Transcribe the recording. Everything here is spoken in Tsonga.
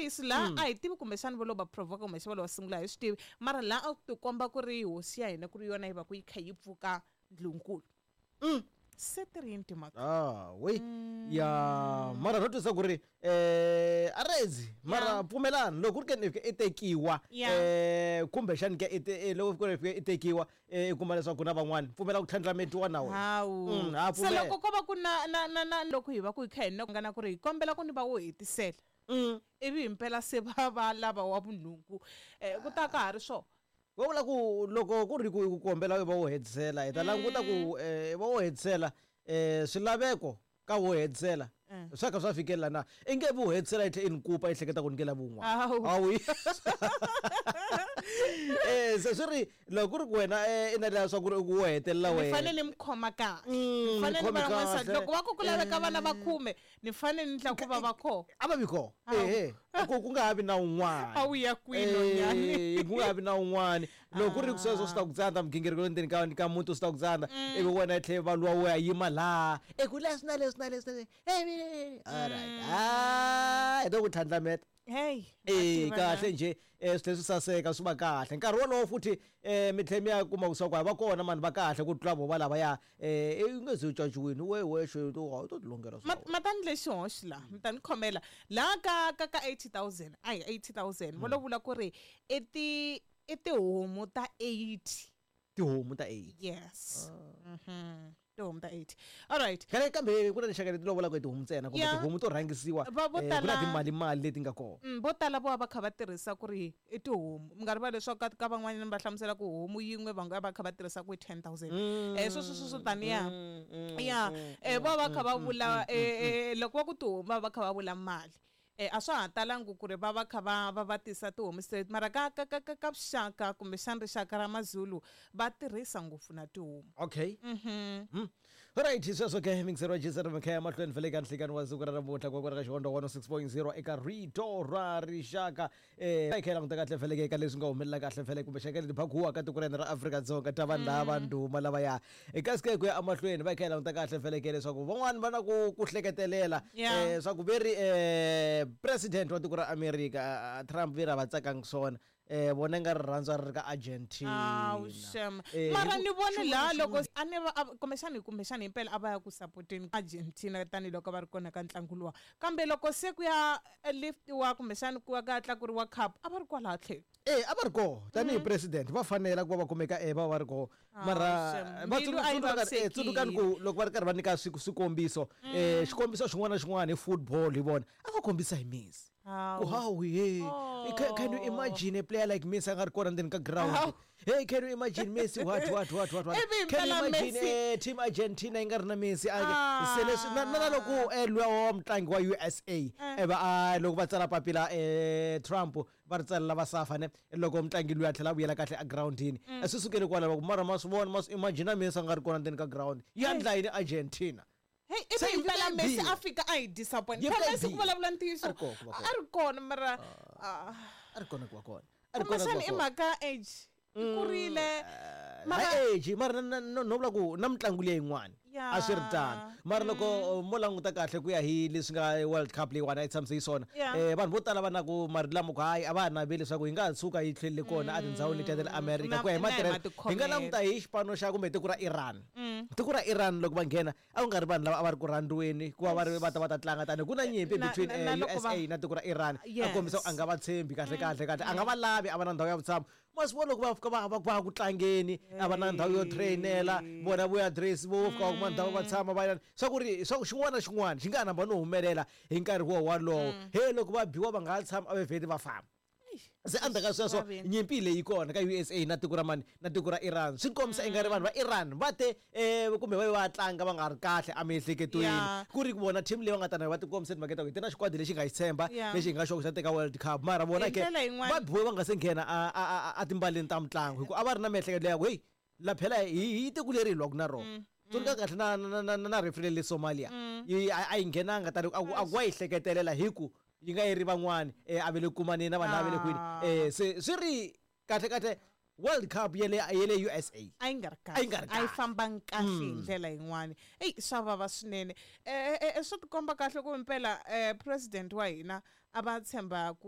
ntiyiso laha a hi tivi kumbexani vo lo va provoka, kumbexana va lo va sungula, hi swi tivi, mara laha a ku tikomba ku ri hosi ya hina ku ri yona yi va ku yi kha yi pfuka ndlunkulu. Se ti ri yini timhaka? Ah, we ya, mara ro twisa ku ri arezi, mara pfumelani loko ku ri ke ni fika i tekiwa, kumbexani ke loko ku ri fika i tekiwa, i kuma leswaku ku na van'wani, pfumela ku tlhandlametiwa na wena. Hawu. Ha Se pfumela. Loko ko va ku na loko hi va ku hi kha hi nga na ku ri hi kombela ku ni va wo hetisela, ivi himpela se va va lava wa vunhungu, ku ta ka ha ri swona. Va vula ku loko ku ri ku ku kombela va wo hetisela, hi ta languta ku va wo hetisela, swilaveko ka wo hetisela swa kha swa fikelela na i nge vu hetisela yi tlhe i ni kupa yi hleketa ku ni nge lavi wun'wana. Hawu. Hawu. Se swi ri loko ku ri ku wena, i na leswaku swa ku ri ku wo hetelela ni wena. Fanele ni mi khoma kahle. Ni fanele ni Khome va n'wansati. Kahle. Loko va ku ku laveka vana va 10, ni fanele ni endla ku va va kona. A va vi kona. Hawu. Ehe, ku nga ha vi na un'wana. A wu ya kwini, nonyani? Ku nga ha vi na un'wana. Loko ku ri ku sweswo swi ta ku tsandza, migingiriko le ndzeni ka muti swi ta ku tsandza, ivi wena i tlhela va luwa wo ya yima laha e ku leswi na leswi na leswi na leswi. All right, ah, hi to ku tlhandlameta. Hey, mativa kahle na. Nje, swi tlhela swi saseka, swi va kahle nkarhi wolowo futhi, mi tlhela mi ya kuma leswaku a va kona mani va kahle ku tlula vo va lavaya, i nge ze u caciwini we wexe, u to tilongela swa wena. Ma ta ni lexi hoxi laha, mi ta ni khomela laha ka 80,000, a hi 80,000, vo lo vula ku ri i tihomu ta 80. Tihomu ta 80. Yes. Tihomu ta 80. All right. Khale kambe ku na tinxaka leti lovolaka hi tihomu ntsena, kumbe tihomu to rhangisiwa, Va vo ku na tala timali mali leti nga kona. Vo tala vo va va kha va tirhisa ku ri i tihomu. Mi nga rivali leswaku ka van'wanyana va hlamusela ku homu yin'we va nga va kha va tirhisa ku i 10,000. Sweswo swo taniya. Ya, va va kha va vula, loko va ku tihomu va va kha va vula mali. A swa ha talangi ku ri va va kha va tisa tihomu straight, mara ka vuxaka kumbexana rixaka ra Mazulu va tirhisa ngopfu na tihomu. Okay. Right, sweswo ke mingisero wa Jason Makhaya mahlweni vhele ka nhlikani wa siku ra namuntlha ku ka Xihondzo 106.0 eka Rito ra Rixaka. Hi kha hi languta kahle vhele eka leswi nga humelela kahle vhele kumbe xaka leti phakuwa ka tiko ra hina ra Afrika-Dzonga ta vanhu lava ndhuma lavaya. Kasi ke ku ya emahlweni va kha hi languta kahle vhele ke leswaku van'wani va na ku hleketelela, swa ku ve ri, president wa tiko ra America, Trump, ve ri a va tsakangi swona, vona nga rirhandzu a ri ri ka Argentina. Awu, shem. Mara Hi ku ni vone xin'wana laha na loko xin'wana. A ni va, a, kumbexani himpela a va ya ku supporteni Argentina tanihiloko va ri kona ka ntlangu luwa, kambe loko se ku ya liftiwa kumbexani ku ya ka tlakuriwa cup, a va ri kwalaha tlhelo. A va ri koho tanihi president, va fanela ku va va kumeka, va va ri koho. Ah, Mara shem. va Mbilu a yi tsundzukani ku vavisekile. loko va ri karhi va nyika swikombiso, xikombiso xin'wana na xin'wana hi football, hi vona a va kombisa hi Messi. Hawu. Ku hawu, hey. Oh. Can you imagine a player like Messi a nga ri kona ndzeni ka ground? Hawu. Hey, can you imagine Messi? What, what, what, what, what? Ivi Can you himpela imagine, Messi team Argentina yi nga ri na Messi? A, Ah. se leswi, na loko, luya wa mutlangi wa USA, va, a, loko va tsala papila, Trump va ri tsalela va safa ne, loko mutlangi luya a tlhela a vuyela kahle a groundini, swi sukele kwalaho, va ku mara ma swi vona, ma swi imagine Messi a nga ri kona ndzeni ka ground, ya Hey. ndla yini Argentina? Hey, ivi Se yi himpela fika yi Messi biha. a fika a hi disappoint. Yi Phela fika yi Messi ku biha. vulavula ntiyiso, A ri kona ku va a kona. ri kona, mara, ah. A ri kona ku va kona. A ri kona ku va Kumbexana i kona. mhaka age. I kurile. Mara Hi age, mara no vula ku na mitlangu leyi yin'wana. Ya. A swi ri tano. Mara loko mo languta kahle ku ya hi leswi nga World Cup leyiwani a yi tshamise yi swona, Ya. Vanhu vo tala va na ku marito lama ku hayi a va ha naveli leswaku yi nga ha tshuka yi tlhelele kona a tindhawini letiya ta le America ku ya hi Na hi matirhelo. Hi nga matikhomelo. languta hi xipano xa kumbe tiko ra Iran. Tiko ra Iran loko va nghena a ku nga ri vanhu lava a va ri ku rhandziweni ku va va ri va ta va ta tlanga tani ku na nyimpi between, Na loko USA va na tiko ra Iran. A Yes. kombisa ku a nga va tshembi kahle kahle kahle, a nga va lavi, a va na ndhawu ya vutshamo. Ma swi vona loko va fika va ku tlangeni, a va na ndhawu yo trainela, vona vo ya dress, vo fika va kuma ndhawu va tshama va ya. Swa ku ri swa ku xin'wana na xin'wana xi nga ha namba no humelela hi nkarhi wo walowo. He loko va biwa va nga ha tshama a va vheti va famba. Se endzhaku ka sweswo Vaveni. nyimpi leyi kona ka USA na tiko ra mani na tiko ra Iran, swi kombisa ingari vanhu va Iran va te, kumbe va va tlanga va nga ri kahle emiehleketweni. Ku ri ku vona team leyi va nga ta na va ti kombisa timhaka ta ku hi ti na xikwadi lexi nga xi tshemba, lexi hi nga xo xa teka World Cup, mara vona Hi ke ndlela yin'wana va biwe va nga se nghena a timbaleni ta mitlangu, hikuva a va ri na miehleketo leya ku hey la phela hi tiko leri hi lwaka na rona. Tsundzuka kahle na referee le Somalia. Yi, a yi nghenanga tani a ku wa yi hleketelela hi ku yi nga yi ri van'wani, a ve le kumaneni na vanhu lava ve le kwini. Se swi ri kahle kahle World Cup ya le USA. A yi nga ri A yi nga ri kahle. A yi kahle. fambangi kahle hi ndlela yin'wani. Eyi, swa vava swinene. Swi tikomba kahle ku impela, president wa hina a va tshemba ku